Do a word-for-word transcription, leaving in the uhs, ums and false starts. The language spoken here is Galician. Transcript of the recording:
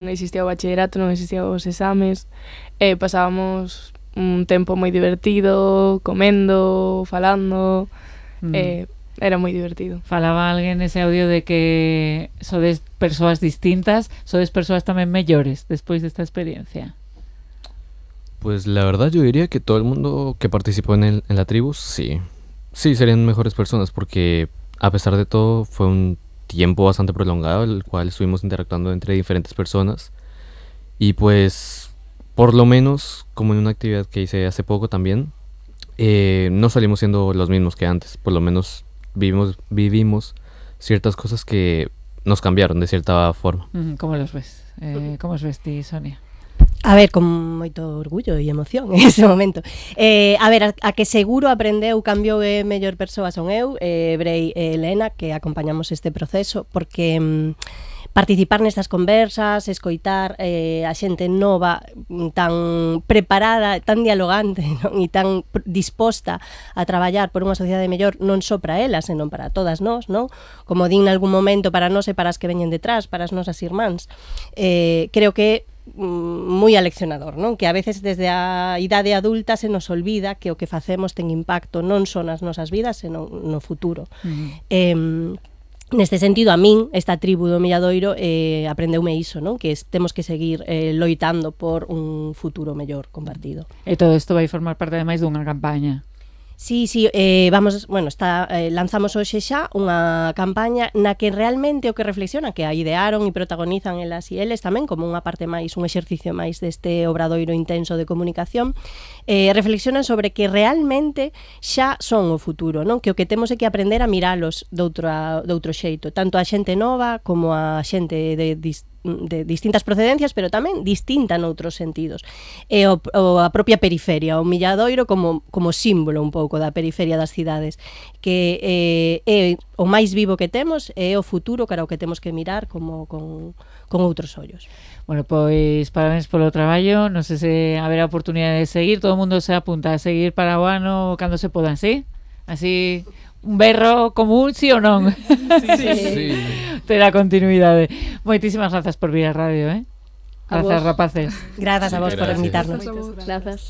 Non existía o bachillerato, non existían os exames, e pasábamos un tempo moi divertido, comendo, falando, mm. e era moi divertido. Falaba alguén nese audio de que sodes persoas distintas, sodes persoas tamén mellores despois desta experiencia. Pues la verdad yo diría que todo el mundo que participó en, el, en la tribu, sí. Sí, serían mejores personas porque a pesar de todo fue un tiempo bastante prolongado el cual estuvimos interactuando entre diferentes personas. Y pues, por lo menos, como en una actividad que hice hace poco también, eh, no salimos siendo los mismos que antes. Por lo menos vivimos, vivimos ciertas cosas que nos cambiaron de cierta forma. ¿Cómo los ves? Eh, ¿Cómo os ves ti, Sonia? A ver, con moito orgullo e emoción en ese momento. Eh, a ver, a, a que seguro aprendeu, cambiou e mellor persoa son eu, eh, Brei e Elena, que acompañamos este proceso, porque mm, participar nestas conversas, escoitar eh, a xente nova, tan preparada, tan dialogante, non? E tan disposta a traballar por unha sociedade mellor, non só para elas, senón para todas nós, non? Como din nalgún momento, para nós e para as que veñen detrás, para as nosas irmáns. Eh, creo que moi aleccionador, non? Que a veces desde a idade adulta se nos olvida que o que facemos ten impacto non só nas nosas vidas, senón no futuro. Uh-huh. Eh, neste sentido, a min, esta tribu do Milladoiro, eh, aprendeume iso, non? Que temos que seguir eh, loitando por un futuro mellor compartido. E todo isto vai formar parte ademais dunha campaña. Sí, sí, eh, vamos, bueno, está, eh, lanzamos hoxe xa unha campaña na que realmente o que reflexionan, que a idearon e protagonizan elas e eles tamén como unha parte máis, un exercicio máis deste obradoiro intenso de comunicación, eh, reflexionan sobre que realmente xa son o futuro, non? Que o que temos é que aprender a miralos de outro, de outro xeito, tanto a xente nova como a xente de distintos de distintas procedencias, pero tamén distinta noutros sentidos. E o, o a propia periferia, o Milladoiro como, como símbolo un pouco da periferia das cidades, que eh, é o máis vivo que temos e é o futuro cara o que temos que mirar como con, con outros ollos. Bueno, pois parabéns polo traballo, non sei se haberá oportunidade de seguir, todo o mundo se apunta a seguir para o ano cando se podan, sí? Así... un berro común, sí ou non? Sí, sí, sí. Terá continuidade. Moitísimas grazas por vir á radio, eh? Grazas, rapaces. Grazas a vos por invitarnos. Grazas.